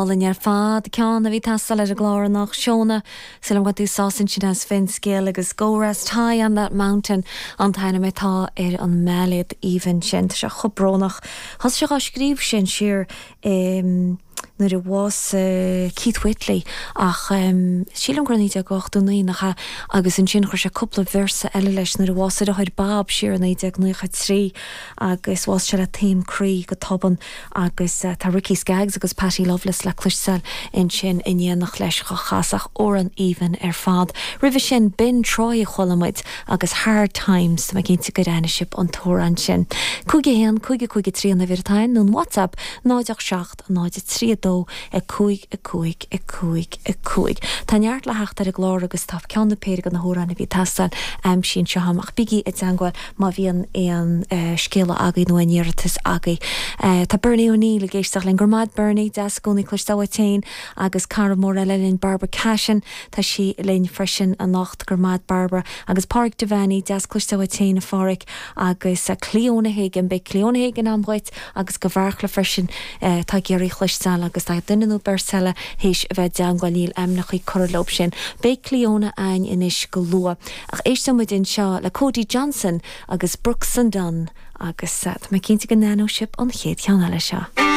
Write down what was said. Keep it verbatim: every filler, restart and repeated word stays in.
Álainn ar fad ceann a bhí ag teastáil ar an gclár anocht Shona Súil agam go bhfuil tú sásta ansin as Finscéal agus Go Rest High on that mountain an t-ainm atá ar an mbailéad aoibhinn sin Tá sé chomh brónach. Thosaigh sé á scríobh sin siar um, nuair a bhásaigh Keith Whitley ach um, sílim gur naoi déag ochtó naoi nach ea agus ansin chuir sé cúpla véarsa eile leis nuair a bhásaigh a dheartháir Bob siar naoi déag nócha trí agus bhásaigh sé le taom croí go tobann agus uh, tá Ricky Skaggs agus Patty Loveless le cloisteáil ansin in éineacht leis go chasach amhrán aoibhinn ar fad. Roimhe sin Ben Troy chuala muid agus Hard Times tá cinnte gur aithin sibh an t-amhrán sin. Cúig a haon cúig cúig trí an uimhir atá nó WhatsApp náid seacht náid trí dó a cúig a cúig a cúig a cúig. Tá neart le theacht ar an gclár agus tá ceann nó péire de na hamhráin a bhí ag teastáil aimsithe anseo ach bígí i dteagmháil má bhíonn aon uh, scéala agaibh nó aon iarratas agaibh. Uh, tá Bernie O'Neill ag éisteacht linn go raibh maith Bernie deas i gcónaí cloisteáil uait féin agus cara mór eile linn Barbara Cashin Tá sí linn freisin anocht go raibh maith Barbara agus Pádraig Devaney deas cloisteáil uait féin a Phádraig agus uh, Cleona Hagan beidh Cleona Hagan an-mhaith agus go bhfearcla freisin uh, tá géirí chluisteáil agus tá duine nó beirt eile théis a bheith i dteagmháil níl ainmneacha curtha leo sin. Beidh Cleona againn anois go luath. Ach éistfidh muid anseo le Cody Johnson agus Brooks and Dunn agus uh, tá mé cinnte go n-aithneoidh sibh an chéad cheann eile seo.